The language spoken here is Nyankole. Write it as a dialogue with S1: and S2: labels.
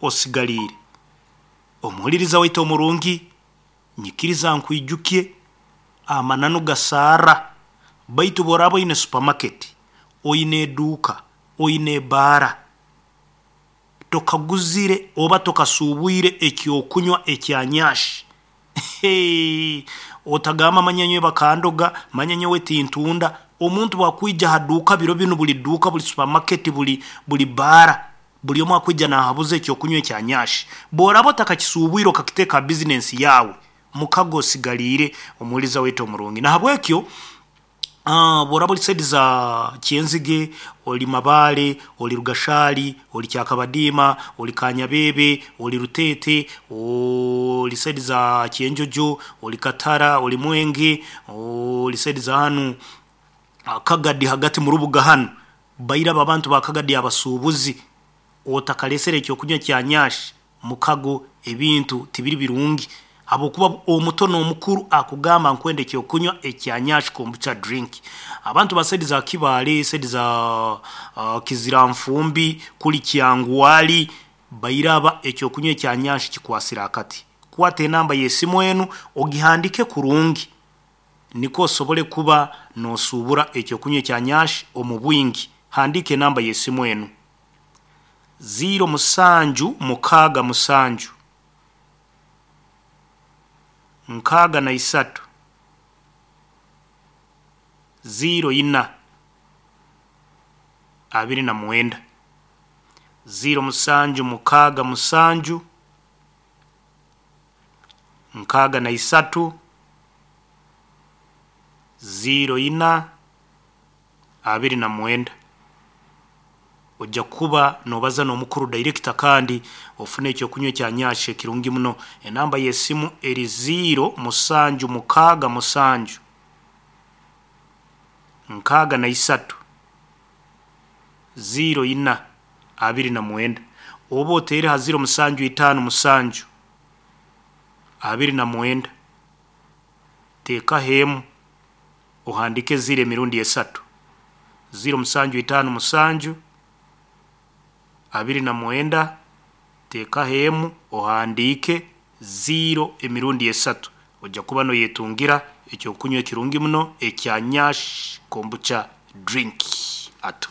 S1: Osigaliire. Omuhuliriza waitu omurungi, nyikiriza nkwijukye amananu gasaara, baitu obu oraaba oyine supermarket, oyine eduuka, oyine ebaara, tokaguzire oba tokasuubwire ekyokunywa ekya Nyash, otagamba manya nyowe bakandoga, manya nyowe tintunda, omuntu obu akwija ha duuka biro binu buri duuka, buri supermarket, buri buri baara, buri omwe akwija naahabuza ekyokunywa ekya Nyash. Obu oraaba otakakisuubwire okakiteeka ha bizinesi yaawe, mukago osigaliire omuhuririza waitu omurungi. Nahabwekyo obu oraaba ori saidi za Kyenzige, ori Mabaale, ori Rugashari, ori Kyakabadiima, ori Kanyabeebe, ori Ruteete, ori saidi za Kyenjojo, ori Katara, ori Mwenge, ori saidi za hanu Kagadi hagati mu rubuga hanu, bairaba abantu ba Kagadi abasuubuzi, otakareesere ekyokunywa kya Nyash, mukago ebintu tibiri birungi habwokuba omuto n'omukuru akugamba nkwenda ekyokunywa ekya Nyash Kombucha drink. Abantu ba saidi za Kibaale, saidi za Kiziranfumbi, kuri Kyangwali, bairaba ekyokunywa ekya Nyash kikwasire akati. Kwata enamba y'esimu enu ogihandiike kurungi nikwo osobole kuba noosuubura ekyokunywa ekya Nyash omu bwingi. Handiika enamba y'esimu enu, ziiro musanju mukaaga musanju, 63, 04, 29. 0767 63 04 29. Ojja kuba noobaza n'omukuru director kandi ofune ekyokunywa ekya Nyash ekirungi muno. Enamba y'esimu eri 0767 63 04 29 oba oteere ha 0757 29 teekaho emu ohandiike ziiro emirundi esatu, 0757 29 teekaho emu ohandiike ziiro emirundi esatu, ojja kuba nooyetungira ekyokunywa ekirungi muno ekya Nyash Kombucha drink. Atuli.